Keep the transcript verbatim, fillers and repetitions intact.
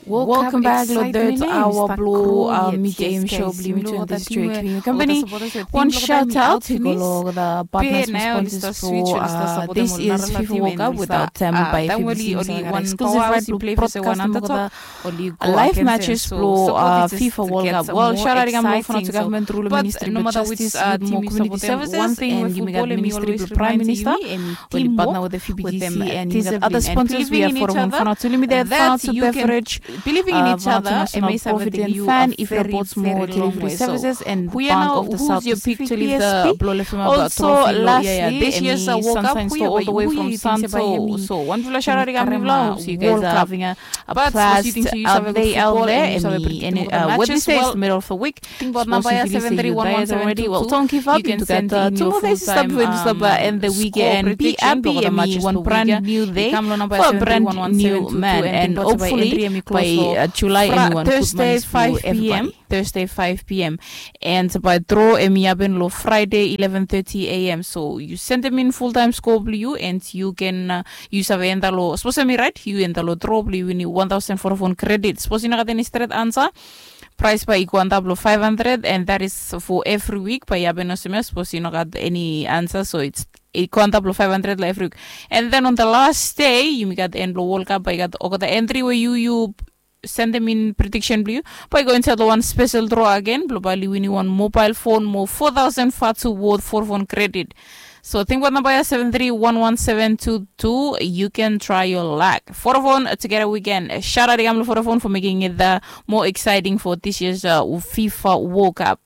Welcome back lo third hour blo uh, Media Aim Show blo Yumi Twenty Straight Clean Company. Wan shout out i go lo the partners and sponsors blo uh, this year's FIFA World Cup. Without them, by F B C wan exclusive right blo broadcast mo kata live matches blo uh, FIFA World Cup. Well, shout out i kam lo Vanuatu government through lo Ministry blo Justice, Youth mo Community Services, and yumi gat Ministry blo Prime Minister. Oli partner with the F B C and yumi gat other sponsors. We have Vodafone Vanuatu Limited, Vanuatu Beverage, believing in each other, Vanuatu National Provident Fund, Ifra Boats mo delivery services, and Bank of the South Pacific, B S P. Also, lastly, this year's World Cup, we are all the way from Santo. So, wan big shout out i kam lo yumi blo, hope you guys are having a blast out there. Emi, and uh, Wednesday is the middle of the week. Tingbaot namba ya seven three one one seven two two. Well, don't give up. Yu gat uh, two more days i stap bifo yu stap uh, end the weekend. Be happy, emi, wan brand new day for a brand new man, and hopefully by uh, July, emi wan good month for everybody. Thursday five p.m. And by draw, emi happen lo Friday eleven thirty a.m. So yu sendem in full time score blo yu, and yu can uh, yu save enta lo, sapos emi right, yu enta lo draw blo yu winim one thousand Vodafone credit. Sapos yu no gat eni stret ansa, prize bae i go antap lo five hundred, and that is for every week. Bae i hapen olsem ya, sapos yu no gat eni ansa, so it's i go antap lo five hundred lo every week. And then on the last day, yumi gat end blo World Cup, bae i gat olgeta entry we yu yu sendem in prediction blo yu, bae i go insaed lo wan special draw agen blo bae oli winim wan mobile phone mo four thousand Vodafone worth Vodafone credit. So tingbaot namba ya seven three one one seven two two. You can try your luck. Vodafone, uh, together we can. Uh, shout out i kam lo Vodafone for making it the more exciting for this year's uh, FIFA World Cup.